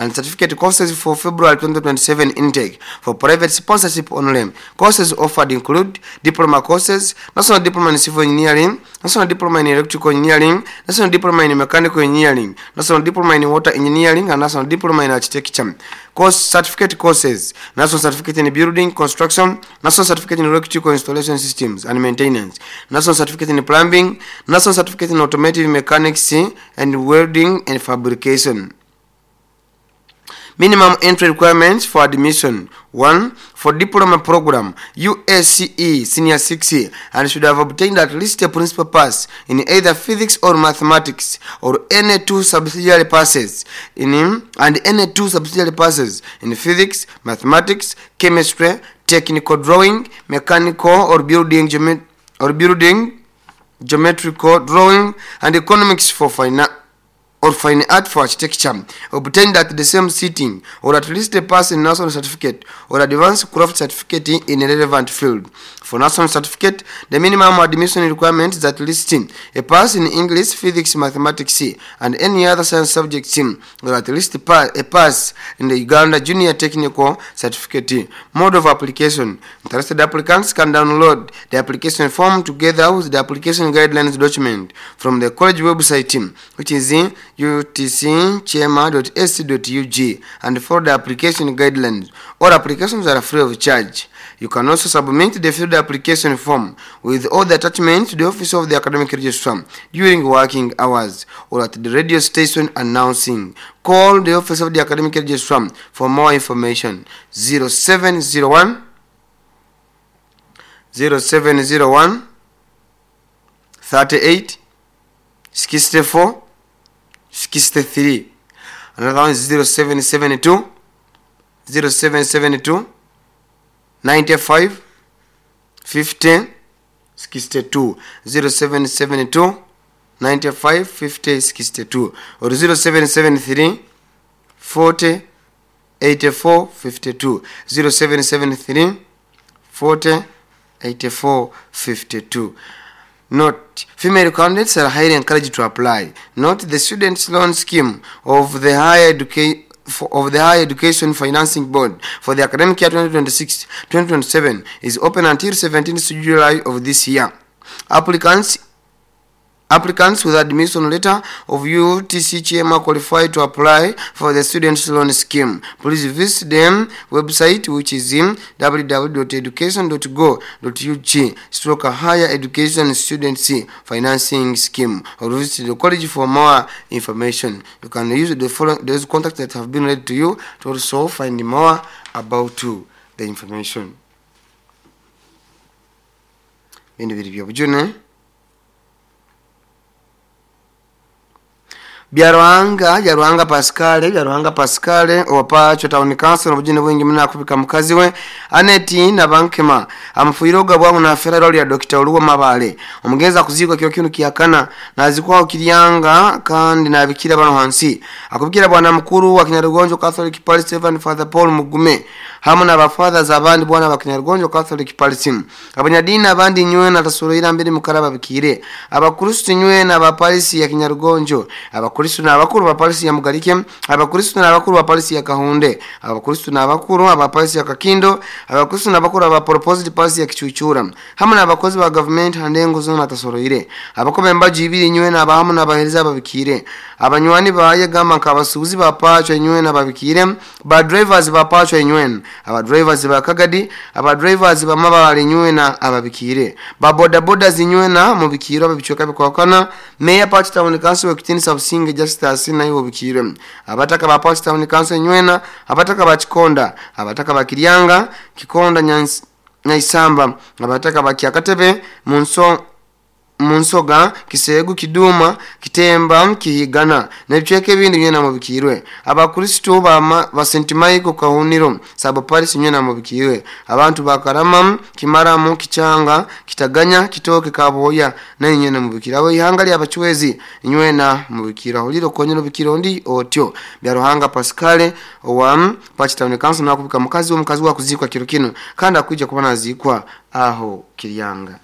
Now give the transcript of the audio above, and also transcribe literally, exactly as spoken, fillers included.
and certificate courses for February twenty twenty-seven intake for private sponsorship only. Courses offered include diploma courses, National Diploma in Civil Engineering, National Diploma in Electrical Engineering, National Diploma in Mechanical Engineering, National Diploma in Water Engineering, and National Diploma in Architecture. Course certificate courses, National Certificate in Building Construction, National Certificate in Electrical Installation Systems and Maintenance, National Certificate in Plumbing, National Certificate in Automotive Mechanics and Welding and Fabrication. Minimum entry requirements for admission. one. For diploma program, U A C E Senior six and should have obtained at least a principal pass in either physics or mathematics or any two subsidiary passes in and any two subsidiary passes in physics, mathematics, chemistry, technical drawing, mechanical or building geomet or building geometrical drawing, and economics for finance or fine art for architecture, obtained at the same sitting, or at least a pass in national certificate or advanced craft certificate in a relevant field. For national certificate, the minimum admission requirement is at least a pass in English, physics, mathematics, and any other science subject, or at least a pass in the Uganda Junior Technical Certificate. Mode of application. Interested applicants can download the application form together with the application guidelines document from the college website, which is in U T C chema dot A C dot U G, and follow the application guidelines. All applications are free of charge. You can also submit the filled application form with all the attachments to the office of the academic registrar during working hours or at the radio station announcing. Call the office of the academic registrar for more information. zero seven zero one zero seven zero one thirty-eight sixty-four sixty-three. Another one is zero seven seven two zero seven seven two ninety-five fifty sixty-two, zero seven seven two ninety-five fifty sixty-two, or zero seven seven three forty eighty-four fifty-two, zero seven seven three forty eighty-four fifty-two. Note, female candidates are highly encouraged to apply. Note, the students' loan scheme of the higher education of the Higher Education Financing Board for the academic year twenty twenty-six twenty twenty-seven is open until seventeenth of July of this year. Applicants Applicants with admission letter of U T C Chema qualify to apply for the students' loan scheme. Please visit them website, which is in w w w dot education dot go dot u g stroke higher education students financing scheme, or visit the college for more information. You can use the following those contacts that have been read to you to also find more about the information. Byaruhanga, Byaruhanga Pascal, Byaruhanga Pascal owa Town Council obujune bwingi muna akubika mukazi we Aneti na Bankema amufuiroga bwangu na afera ya Doctor Oluwa Mabale omugenza kuzikwa kyo kinu kiyakana nazikwa Kiryanga kandi nabikira bano hansi akubikira bwana mukuru wa Kinyarugonjo Catholic Parish Reverend Father Paul Mugume hamwe n'abafathers abandi bwana ba Kinyarugonjo Catholic Parish abanyadini abandi nywe na tasoroira mbere mukaraba bikire abakristo nywe na ba Parish ya Kinyarugonjo abakristo n'abakuru ba Parish ya Mugarike abakristo n'abakuru ba Parish ya Kahunde abakristo n'abakuru aba Parish ya Kakindo abakristo n'abakuru aba Proposed Parish ya Kichuchura hamwe n'abakozi ba government handengo zona tasoroire abakombe mbaji ibiri nywe n'abahamu n'abahereza babikire abanywani baye gamba nkabasuuzi ba Pacho nywe n'ababikire ba drivers ba Pacho nywe aba drivers ba Kagadi aba drivers ba Mabale nywe na ababikire ba boda boda zinywe na mubikiro ababichoka bikwakana Mayor Pacho Town Council wekitinisa Businge Justice na iwo bikire abataka ba Pacho Town Council nywena abataka ba Kikonda abataka ba Kiryanga Kikonda Nyaisamba abataka ba Kyakatebe munso munsoga Kisegu Kiduma Kitemba Kihigana nebicheke ebindi nyena mubikirwe abakristo ba ba Saint Michael Kahuniro sabo Paris nyena mubikirwe abantu bakarama Kimaramu Kichanga Kitaganya Kitoke Kaboya na nyena mubikira abo ihanga lya abachwezi nywena mubikira holiro konyero bikiro ndi otyo Byaruhanga Pascal owa Pacho Town Council nakubika mukazi wo mukazi wa kuzikwa kiro kino kandi akwijja kuba nazikwa aho Kiryanga.